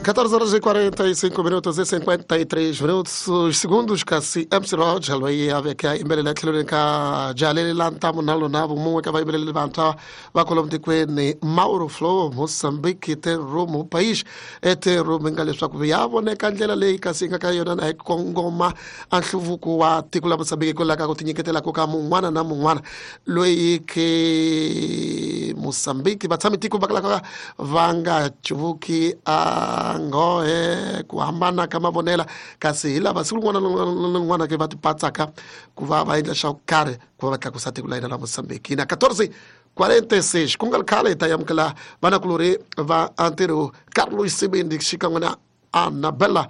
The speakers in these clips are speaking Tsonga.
14 horas e 45 minutos e 53 minutos os segundos kasi MC Roger loyi a veke a yimbelela etlhelweni ka jaleli la ntamu na lona vun'we ka vayimbeleri vantshwa va kwalomu tikweni Mauro Flow Mozambique te room país ete room nga leswaku ya voneka ndlela leyi kasi yi nga ka yona na hi kongoma a nhluvuko wa tiko la Mozambique hikwalaho ka ku tinyiketela ka mun'wana na mun'wana loyi ke Mozambique vatshami tiko va kalaka va nga cuvuki a nghohe ku hambana ka mavonela kasi hi lava siku rin'wana na rin'wana ke va tipatsaka ku va va endla xa ku karhi ku va va tlakusa tiko la hina la Mozambique na 14:46 ku nga ri khale hi ta amukela vanakulorhi va ntirho Carlos Sibindi xikan'we na Annabella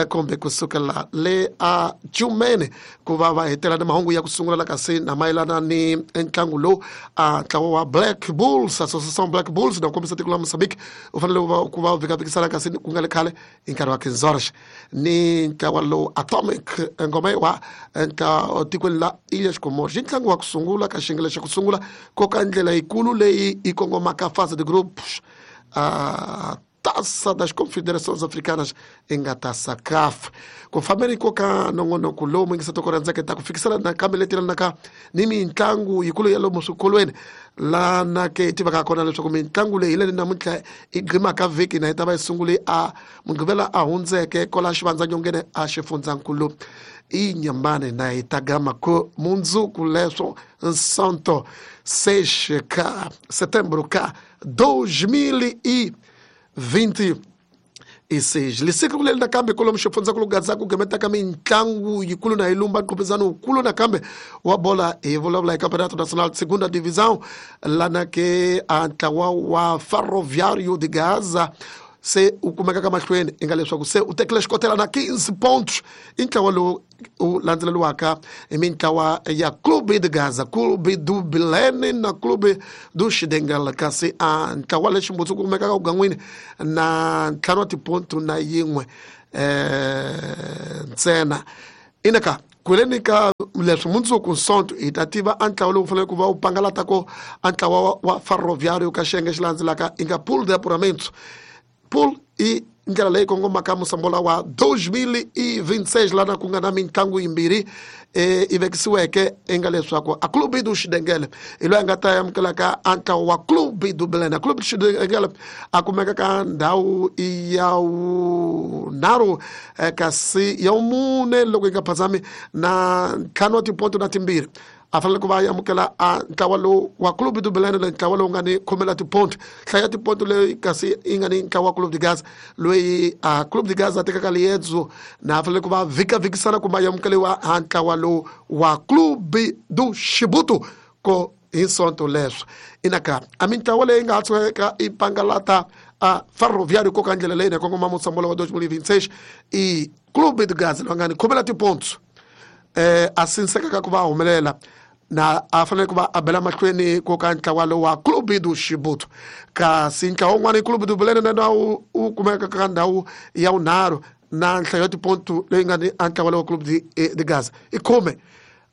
kumbe kusukela le a Jumene ku va va hetela ni mahungu ya ku sungula la kasi na mayelana ni ntlangu lowu a ntlawa wa Black Bulls Association Black Bulls na kombisa tiko la Mozambique u fanele ku va u vhikavhikisana kasi ku nga le khale hi nkarhi wa Kinzorsh ni ntlawa lowu Atomic ngoma wa tikweni la Ilhas Comores i ntlangu wa ku sungula ka xiyenge xa ku sungula ko ka ndlela yikulu leyi yi kongomaka fase de groups Taça das Confederações Africanas i nga ta SACAF ku fambeni ko ka nongonoko lowu muyingisa toko rhandzaka ta ku fikisela nakambe leti lanaka ni mitlangu yikulu ya lomu swikolweni lana ke hi tivaka kona leswaku mitlangu leyi hi leni namuntlha i gqimaka vhiki na yi ta va yi sungule a mugqivela a hundzeke kwala xivandzanyongeni a xifundzankulu i nyambane na hi ta gama ku mundzuku leswo nsonto 6 ka setembro ka 2026 lisiku leri nakambe kwalomu xifundzankulu gaza ku gemetaka mitlangu yikulu na yi lumba nqopizano wukulu nakambe wa bola hi vulavula hi campeonato nacional segunda divisão lana ke a ntlawa wa ferroviário de gaza se u kumeka ka mahlweni i nga leswaku se u tekile xikotela na 15 pontos i ntlawa lowu u landzeleriwaka hi mintlawa ya Clube de Gaza, Clube do Bilene na Clube do Xidengel kasi a ntlawa lexi ximbutsu ku kumekaka kugangwini na ntlhanu wa tipontu na yin'we ntsena inaka kweleni ka leswi mundzuku nsonto hi ta tiva a ntlawa lowu faneleke ku va wu pangalata ko a ntlawa wa ferroviário ka xiyenge xi landzelaka i nga pool de apuramento pool i ndlela leyi kongomaka musambola wa 2026 lana ku nga na mitlangu yimbirhi i vekisiweke i nga leswaku a clube do xidengele hi loyi a nga ta amukelaka a ntlawa wa clube do belena clube do xidengele a kumeka ka ndhawu ya vunharhu kasi ya vumune loko yi nga phazami na ntlhanu wa tiponto na timbirhi a fanele ku va a amukela a ntlawa lowu wa clube do belena le ntlawa lowu nga ni khume la tiponto hlaya tiponto leyi kasi yi nga ni ntlawa wa clube de gaza loyi a clube de gaza a tekaka liendzo na a fanele ku va vhikavhikisana kumbe a amukeliwa a ntlawa lowu wa clube do xibutu ko hi sonto leswo inaka a mintlawa leyi nga ha tshukeka i pangalata a ferroviário ko ka ndlela leyi na kongoma musambola wa 2026 i clube de gaza loyi nga ni khume la tiponto a sinsekaka ku va a humelela na a fanele ku va a bela mahlweni ko ka ntlawa lowu wa clube do xibutu kasi ntlawa wun'wana i clube do belene na wu kumeka ka ndhawu ya vunharhu na nhlayo ya tipontu leyi nga ni a ntlawa lowu wa clube de gaza i khume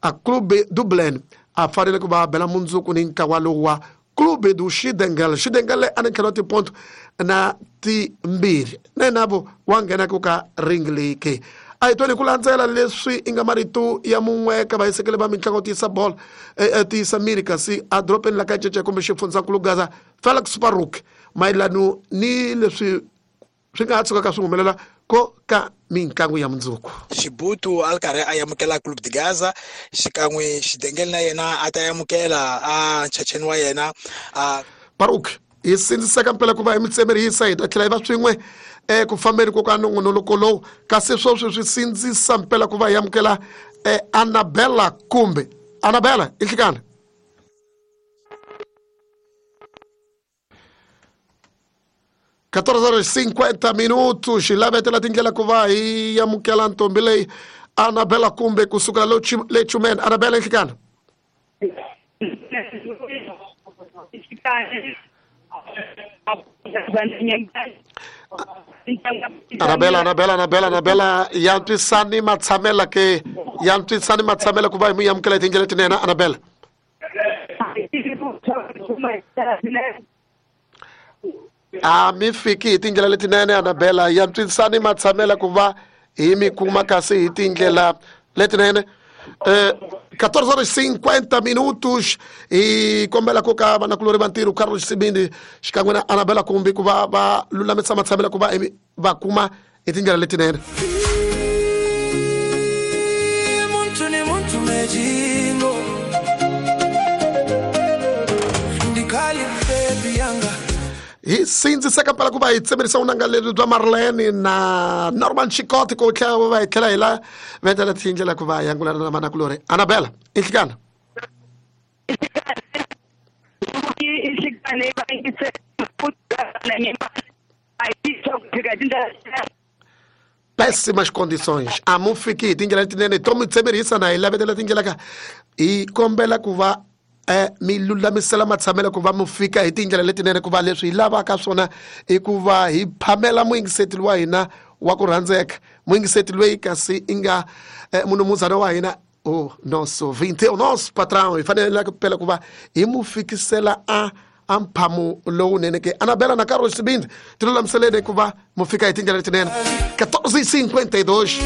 a clube do belen a fanele ku va a bela mundzuku ni ntlawa lowu wa clube do xidengel xidengel a ni ntlhelo wa tiponto na timbirhi na yena vo wa nghena ku ka ring leyi ke a hi twani ku landzela leswi i nga marito ya mun'we ka vahisekeli va mitlangu tiyisa bolo tiyisa miri kasi a dorobeni la ka cece kumbe xifundzankulu gaza Felix Paruk mayelano ni leswi swi nga ha tshukaka swi humelela ko ka mitlangu ya mundzuku Xibutu a ri karhi a amukela Club de Gaza xikan'we Xidengele na yena a ta amukela a nchacheni wa yena a Paruk hi sindziseka mpela ku va hi mitsemerisa hi ta tlhela hi va swin'we eku fambeni ko ka nongonoko lowu kasi sweswi swi sindzisa mpela ku va hi amukela Annabella kumbe Annabella i nhlikani 14 horas 50 minutos xilavetela tindlela ku va hi amukela ntombi leyi Annabella kumbe kusuka le Chumene Annabella nhlikana Annabella Annabella Annabella Annabella ya ntwisani matshamela ke ya ntwisani matshamela ku va hi mu amukela hi tindlela tinene Annabella A mi fiki hi tindlela letinene Anabela ya ntswisani matshamela ku va hi mi kuma kasi hi tindlela letinene. 14 horas 50 minutos hi kombela ku ka vanakulori va ntirho Carlos Sibindi xikan'we na Anabela Kumbi ku va va lulamisa matshamela ku va va kuma hi tindlela letinene. Hi sindziseka mpela ku va hi tsemerisa vunanga lebyi bya Marlene na Norman Chikoti ku tlhela va hi tlhela hi la vetela tindlela ku va yangulana na vanakulori. Anabela, inhlikana. Péssimas condições. A mu fiki hi tindlela letinene to mi tsemerisa na hi lavetela tindlela ka hi kombela ku va mi lulamisela matshamelo ku va mu fika hi tindlela letinene ku va leswi hi lavaka swona i ku va hi phamela muyingiseti wa hina wa ku rhandzeka muyingiseti loyi kasi i nga munumuzana wa hina o nosso vinte o nosso patrão hi fanele phela ku va hi mu fikisela a mphamo lowunene ke. Anabela na Carlos Sibindi ti lulamiseleni ku va mu fika hi tindlela letinene. 14:52.